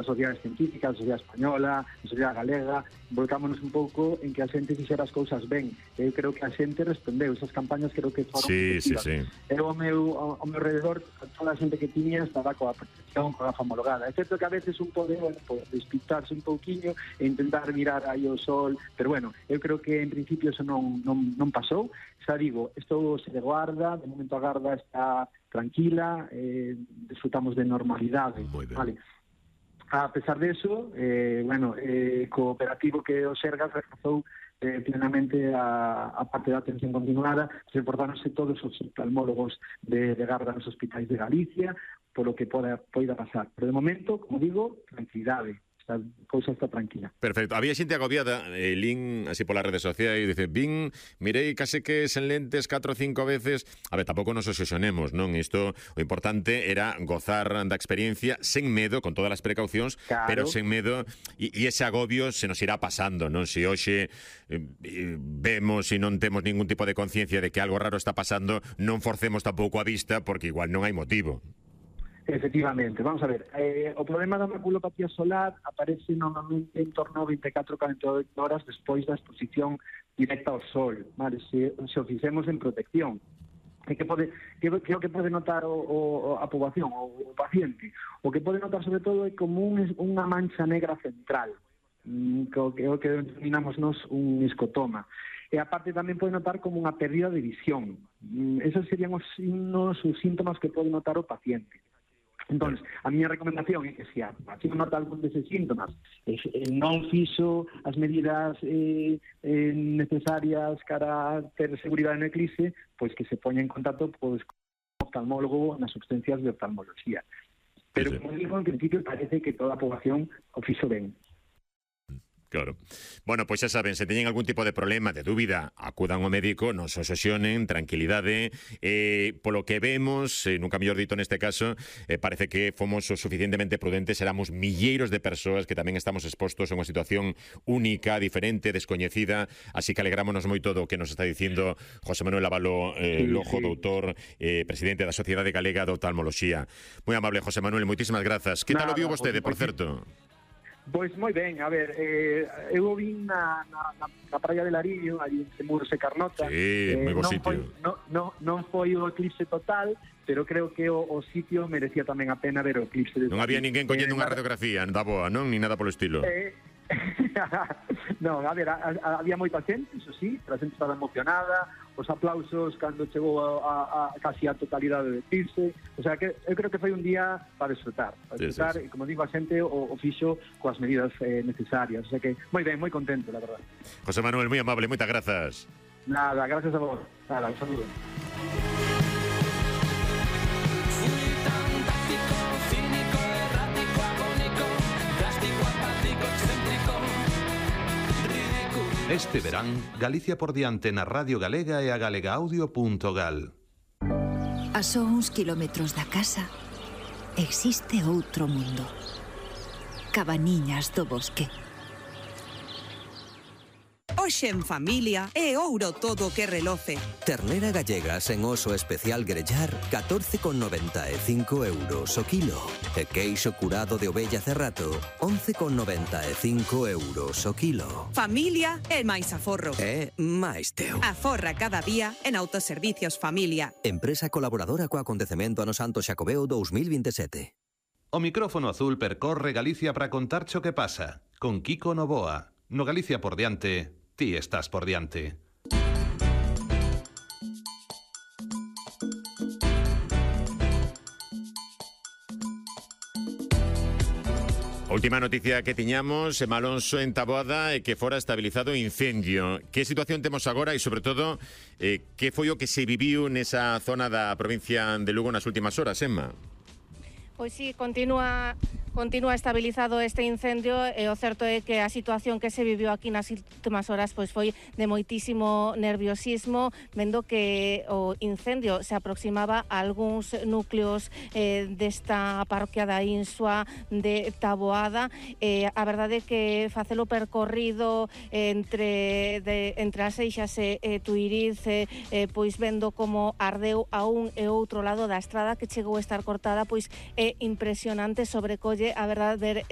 as sociedades científicas, a sociedade española, a sociedade galega, volcámonos un pouco en que a xente fixera as cousas ben. Eu creo que a xente respondeu, esas campañas creo que foron efectivas. Eu ao meu redor, toda a xente que tiña estaba coa protección, coa gafa homologada. É certo que a veces un pode despistarse un pouquiño e intentar mirar aí o sol, pero bueno, eu creo que en principio eso non pasou. Xa digo, isto se de guarda, de momento a Garda está tranquila, disfrutamos de normalidade, vale. A pesar de eso, cooperativo que o Sergas reforzou plenamente a parte da atención continuada, reportáronse todos os oftalmólogos de Garda nos hospitais de Galicia, polo que poida pasar. Pero de momento, como digo, tranquilidade. A cousa está tranquila. Perfecto. Había xente agobiada, lin así polas redes sociais, dice, mirei case que sen lentes 4 ou 5 veces. A ver, tampouco nos obsesionemos, non? Isto, o importante era gozar da experiencia sen medo, con todas as precaucións, claro, pero sen medo, e ese agobio se nos irá pasando, non? Se hoxe vemos e non temos ningún tipo de conciencia de que algo raro está pasando, non forcemos tampouco a vista, porque igual non hai motivo. Efectivamente, vamos a ver, o problema da maculopatía solar aparece normalmente en torno a 24-48 horas despois da exposición directa ao sol, vale? Se o fixemos en protección. Que o que pode notar a poboación, o paciente? O que pode notar sobre todo é como unha mancha negra central, que é o que denominamos nos un escotoma. E aparte tamén pode notar como unha pérdida de visión. Esos serían os signos, os síntomas que pode notar o paciente. Entón, a miña recomendación é que se a paciente nota algún deses síntomas non fixo as medidas necesarias para ter seguridade no eclipse, pois que se poña en contacto con oftalmólogo nas urgencias de oftalmología. Pero, como digo, en principio parece que toda a poboación o fixo ben. Claro. Bueno, pois xa saben, se teñen algún tipo de problema, de dúbida, acudan ao médico, non se obsesionen, tranquilidade. Polo que vemos, nunca mellor dito neste caso, parece que fomos o suficientemente prudentes, éramos milleiros de persoas que tamén estamos expostos a unha situación única, diferente, descoñecida, así que alegrámonos moito do que nos está dicindo José Manuel Abalo Lojo, doutor, presidente da Sociedade Galega de Oftalmoloxía. Moi amable, José Manuel, moitísimas grazas. Que tal o viu vostede, por certo? Pois moi ben, a ver, eu vin na praia de Lariño, aí en Muros e Carnota. Sí, moi bo sitio. Non foi o eclipse total, pero creo que o sitio merecía tamén a pena ver o eclipse. Non había ninguén collendo unha radiografía da boa, non? Ni nada polo estilo. Non, a ver, había moita xente, iso sí, a xente estaba emocionada, os aplausos cando chegou a casi a totalidade do eclipse, o sea, que eu creo que foi un día para disfrutar, sí. E como digo, a xente o fixo coas medidas necesarias, o sea que moi ben, moi contento, la verdad. José Manuel, moi amable, moitas grazas. Nada, gracias a vos. Nada, un saludo. Este verán, Galicia por diante na Radio Galega e a galegaaudio.gal. A só uns kilómetros da casa existe outro mundo. Cabaniñas do bosque. Hoxe en familia é ouro todo o que reloce. Ternera gallega sen oso especial grellar, 14,95 euros o kilo. E queixo curado de ovella cerrato, 11,95 euros o kilo. Familia é máis aforro. É máis teu. Aforra cada día en Autoservicios Familia. Empresa colaboradora co acontecemento ano Santo Xacobeo 2027. O micrófono azul percorre Galicia para contarche o que pasa. Con Kiko Novoa. No Galicia por diante, ti estás por diante. Última noticia que tiñamos, en Malonso, en Taboada, que fora estabilizado o incendio. Que situación temos agora e, sobre todo, que foi o que se viviu nesa zona da provincia de Lugo nas últimas horas, Emma? Pois sí, continúa estabilizado este incendio e o certo é que a situación que se viviu aquí nas últimas horas pois foi de moitísimo nerviosismo, vendo que o incendio se aproximaba a algúns núcleos desta parroquia da Insua de Taboada. A verdade é que facelo percorrido entre as Seixas e Tuiriz, pois vendo como ardeu a un e outro lado da estrada que chegou a estar cortada, pois é impresionante, sobrecolle a verdad ver